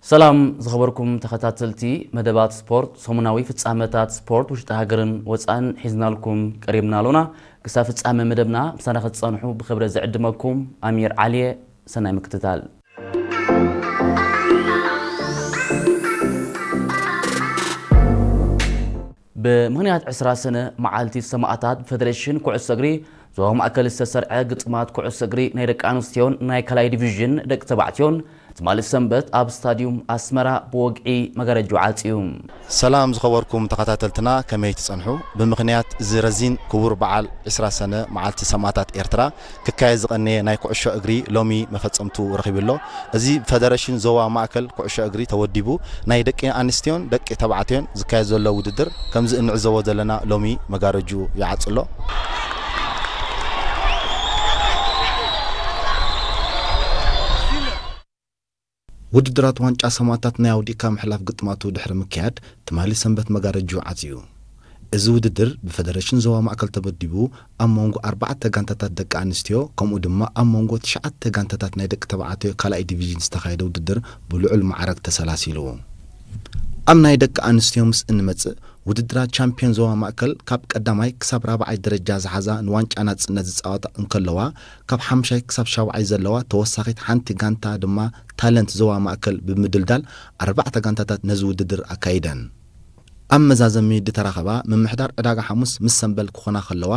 ሰላም ዝኸበርኩም ተኸታተልቲ መደባት ስፖርት፣ ሰሙናዊ ፍጻመታት ስፖርት ውሽጢ ሃገርን ወጻእን ሒዝናልኩም ቀሪብና ኣሎና። ክሳብ ፍጻመ መደብና ምሳና ክትጸንሑ ብኽብረት ዝዕድመኩም ኣሚር ዓሊየ። ሰናይ ምክትታል። ብምኽንያት ዕስራ ሰነ መዓልቲ ሰማእታት ብፈደሬሽን ኩዕሶ እግሪ ዞባ ማእከል ዝተሰርዐ ግጥማት ኩዕሶ እግሪ ናይ ደቂ ኣንስትዮን ናይ ካልኣይ ዲቪዥን ደቂ ተባዕትዮን ትማሊ ሰንበት ኣብ ስታድዩም ኣስመራ ብወግዒ መጋረጅኡ ዓጽዩ። ሰላም ዝኸበርኩም ተኸታተልትና፣ ከመይ ትጸንሑ? ብምኽንያት እዚ ረዚን ክቡር በዓል ዕስራ ሰነ መዓልቲ ሰማእታት ኤርትራ ክካየድ ዝቐነየ ናይ ኩዕሾ እግሪ ሎሚ መፈጸምቱ ረኺቡ ኣሎ። እዚ ብፈደረሽን ዞባ ማእከል ኩዕሾ እግሪ ተወዲቡ ናይ ደቂ ኣንስትዮን ደቂ ተባዕትዮን ዝካየድ ዘሎ ውድድር ከምዚ እንዕዘቦ ዘለና ሎሚ መጋረጅኡ ይዓጽ ኣሎ። ውድድራት ዋንጫ ሰማእታት ናይ ኣውዲእካ ምሕላፍ ግጥማቱ ድሕሪ ምክያድ ትማሊ ሰንበት መጋረጅኡ ዓጽዩ። እዚ ውድድር ብፈደረሽን ዞባ ማእከል ተበዲቡ ኣብ መንጎ ኣርባዕተ ጋንታታት ደቂ ኣንስትዮ ከምኡ ድማ ኣብ መንጎ ትሽዓተ ጋንታታት ናይ ደቂ ተባዕትዮ ካልኣይ ዲቪዥን ዝተኻየደ ውድድር ብልዑል ማዕረግ ተሰላሲሉ። ኣብ ናይ ደቂ ኣንስትዮ ምስ እንመጽእ ውድድራት ቻምፒዮን ዞባ ማእከል ካብ ቀዳማይ ክሳብ ራብዓይ ደረጃ ዝሓዛ ንዋንጫ ናጽነት ዝጻወታ እንከለዋ ካብ ሓምሻይ ክሳብ ሻውዓይ ዘለዋ ተወሳኺት ሓንቲ ጋንታ ድማ ታለንት ዞባ ማእከል ብምድልዳል ኣርባዕተ ጋንታታት ነዚ ውድድር ኣካይደን። ኣብ መዛዘሚ ድተራኸባ ምምሕዳር ዕዳጋ ሓሙስ ምስ ሰምበል ክኾና ከለዋ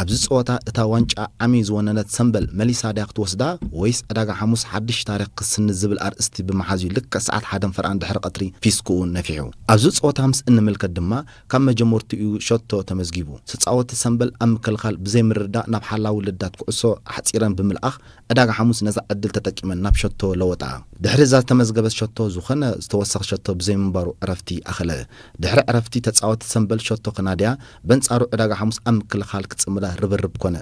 ኣብዚ ጸወታ እታ ዋንጫ ዓሚ ዝወነነት ሰምበል መሊሳ ድያ ክትወስዳ ወይስ ዕዳጋ ሓሙስ ሓድሽ ታሪኽ ክስንድ ዝብል ኣርእስቲ ብምሓዝ እዩ ልክዕ ሰዓት ሓደን ፈርቓን ድሕሪ ቀትሪ ፊስክኡ ነፊሑ። ኣብዚ ጸወታ ምስ እንምልከት ድማ ካብ መጀመርትኡ ሸቶ ተመዝጊቡ። ተጻወቲ ሰምበል ኣብ ምክልኻል ብዘይ ምርድዳእ ናብ ሓላዊ ልዳት ኩዕሶ ኣሕጺረን ብምልኣኽ ዕዳጋ ሓሙስ ነዛ ዕድል ተጠቂመን ናብ ሸቶ ለወጣ። ድሕሪ እዛ ዝተመዝገበት ሸቶ ዝኾነ ዝተወሰኽ ሸቶ ብዘይምንባሩ ዕረፍቲ ኣኸለ። ድሕሪ ዕረፍቲ ተጻወቲ ሰምበል ሸቶ ክናድያ በንጻሩ ዕዳጋ ሓሙስ ኣብ ምክልኻል ክጽምዳ ርብርብ ኮነ።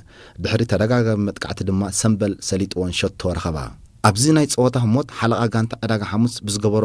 ድሕሪ ተደጋጋሚ መጥቃዕቲ ድማ ሰምበል ሰሊጥወን ሸቶ ረኸባ። ኣብዚ ናይ ጸወታ ህሞት ሓለቓ ጋንታ ዕዳጋ ሓሙስ ብዝገበሮ